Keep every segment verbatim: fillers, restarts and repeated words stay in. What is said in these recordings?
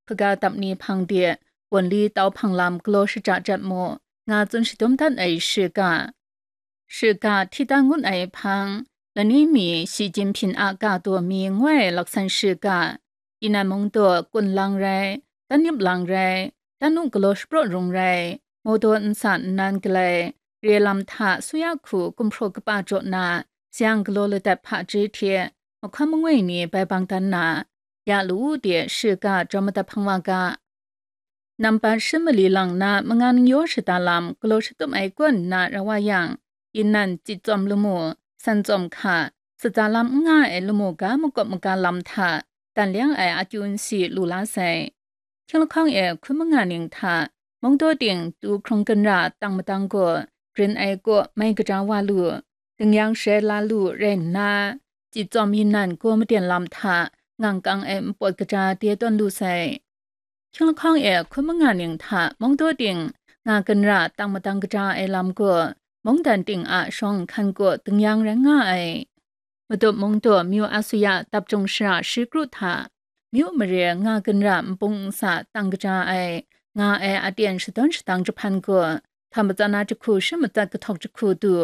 kaga dap ni hpang de, Wunli tau hpang lam galaw shaja jat mu, nga tsun shadum dat ai shiga. Shiga hti dan ngut ai hpang, lani mi Shi Jinping a ga daw mi ngoi laksan shiga, Yinan mung daw kun lang rai, dan nip lang rai, dan nu galaw shapraw rung rai, mawdaw nsa nnan galai, re lam hta suya hku gumhpraw kapa jaw na, sayang galaw ladat hpaji hte, mahkawn mangwi ni bai bang dan na, ya lu u de shiga jawm madat hpang wa ga. Nambat shi mali lang na manga ning yaw shada lam galaw shatup ai kaw nna ra wa yang, Yinan tsit tsawm lamu, san tsawm hka, sata lam n nga ai lamu ga makawp maga lam hta, dan leng ai akyu nsi lu la sai. Hkying lahkawng e hkun manga ning hta, mungdaw ting tu hkrung ginra tang madang gaw, grin ai kaw mai kaja wa lu, dingyang sharai la lu rai nna, tsit tsawm Yinan gaw maden lam hta, ngang kang ai npawt kaja de tawn lu sai. Hkying lahkawng e hkun manga ning hta mungdaw ting nga ginra tang madang kaja ai lam gaw, mungdan ting a shawng nhkan gaw dingyang rai nga ai. Madup mungdaw myu asuya dap jung shara shi kru hta, myu mare nga ginra npung nsa tang kaja ai, nga ai aten shadawn shadang jahpan gaw, hta matsan na jahku shi matsat kahtawk jahku du.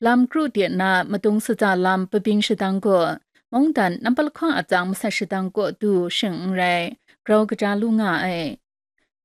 Lam kru de na madung sata lam pabyin shadang gaw, mungdan nampat lahkawng atsang masat shadang kaw du shing n rai, grau kaja lu nga ai.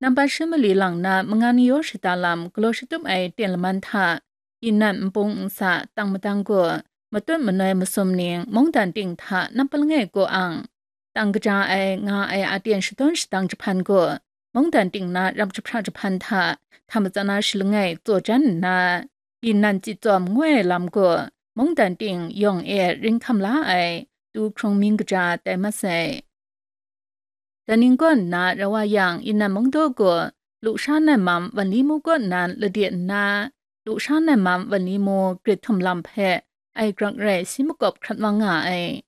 Nambat shi mali lang na manga ni yaw shada lam galaw shatup ai ten laman hta, Yinan npung nsa tang madang gaw, matut manoi masum ning mungdan ting hta nampat langai kaw ang, tang kaja ai nga ai aten shadawn shadang jahpan gaw, mungdan ting na rap jahpra jahpan hta, hta matsan na shi langai tsaw jan nna, Yinan tsit tsawm ngoi ai lam gaw, mungdan ting yawng e ring hkam la ai, tu hkrung mying kaja tai mat sai. Dan ning kaw nna ra wa yang, Yinan mungdaw gaw, lusha nan mam Wanli mu kaw nan lade nna, lusha nan mam Wanli mu grit htum lam hpe ai grak rai si makawp hkrat wa nga ai.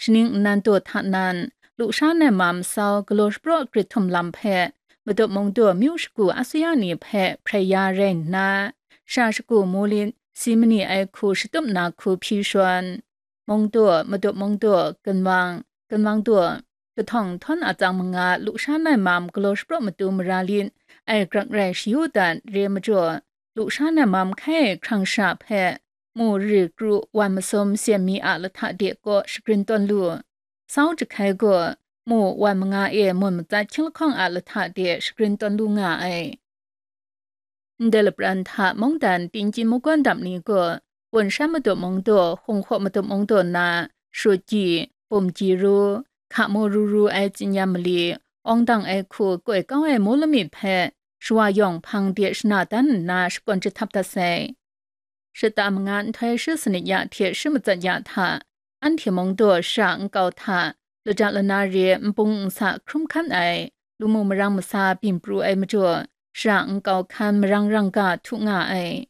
Shaning nnan daw hta nan, lusha nan mam sau galaw shapraw grit htum lam hpe, madup mungdaw myu shagu asuya ni hpe hprai ya rai nna, sha shagu mu lit si mani ai hku shatup na hku hpyi shawn, mungdaw, madup mungdaw, ginwang, ginwang daw, kahtawng htawn atsang manga lusha nan mam galaw shapraw matu mara lit ai grak rai shayu dat re majaw, lusha nan mam hkai hkrang sha hpe, mu ri kru wan masum syen mi a lahta de kaw shagrin tawn lu. Sau jahkai gaw, mu wan manga e mun matsat hkying lahkawng a lahta de shagrin tawn lu nga ai. Ndai lapran hta mungdan Tingchin mungkawn dam ni gaw, Wun shan madup mungdaw, Hung hkaw madup mungdaw na, Shut Gyi, Bum Gyi Ru, hka mu ru ru ai tsin-yam mali, awng dang ai hku koi kau ai mu lamik hpe, shawa yawng hpang de shana dan nna shakawn jahtap dat sai. Shata manga nhtoi shi sanit ya hte shi matsat ya hta, anhte mungdaw shara nkau hta, laja lana re npung nsa hkrum hkan ai, lu mu marang masa byin pru ai majaw, shara nkau hkan marang rang ga htu nga ai.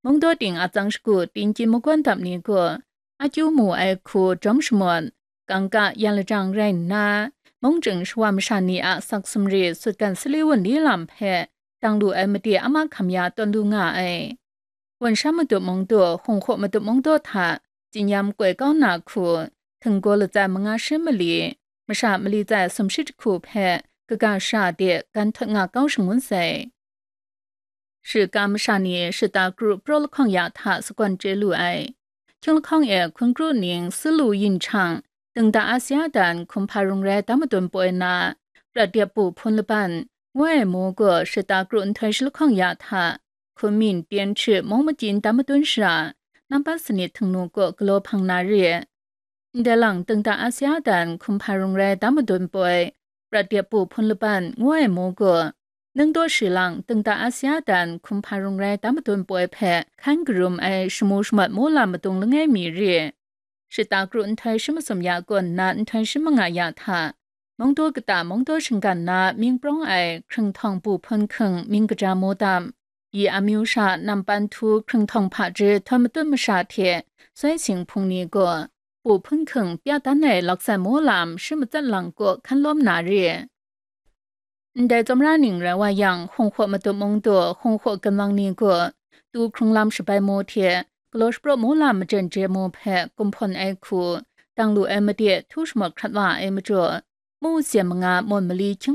Mungdaw ting atsang shagu Tingchin mungkawn dam ni gaw, akyu mu ai hku jawm shamawt, kangka yan lajang rai nna, mungchying shawa masha ni a sak sumri sutgan sali wunli lam hpe dang lu ai made a mahkam ya tawn lu nga ai. Wun shan madup mungdaw, Hung hkaw madup mungdaw hta tsin-yam koi kau na hku, htinggaw latsan manga shi mali, masha mali tsai sumshi jahku hpe kaga sha de gan htawt nga kau shangun sai. Shiga masha ni shata kru praw lahkawng ya hta sagawn chye lu ai. Hkying lahkawng e hkun kru ning Silu Yin Chang, Dengda Asia dan hkumhpa rung rai dam madun poi na, Prat Dep Bu Hpun Laban, ngu ai mu gaw shata kru nhtoi shi lahkawng ya hta, Hkunmin Tyen Hkrit mung magyin dam madun shara, nampat sanit htingnu kaw galaw hpang na re. Ndai lang Dengda Asia dan hkumhpa rung rai dam madun poi, Prat Dep Bu Hpun Laban ngu ai mu gaw, Ningdaw Shi Lang Dengda Asia dan hkumhpa rung rai dam madun poi hpe hkan karum ai shamu shamat mu lam madung langai mi re. Shata kru nhtoi shi masum ya kaw nna nhtoi shi manga ya hta, mungdaw kata mungdaw shinggan na mying prawng ai hkrung htawng Bu Hpun Hking mying kaja mu dam, yi amyu sha nampan htu hkrung htawng hpaji htawn matut masha hte soi sing hpung ni gaw, Bu Hpun Hking pya dan ai laksan mu lam shi matsat lang kaw hkan lawm na re. Ndai tsawmra ning rai wa yang, Hung hkaw madup mungdaw, Hung hkaw ginwang ni gaw, tu hkrung lam shabai mu hte, galaw shapraw mu lam majen je mu hpe kumhpawn ai hku, dang lu ai made htu shamawt hkrat wa ai majaw, mu syen manga mawn mali hkying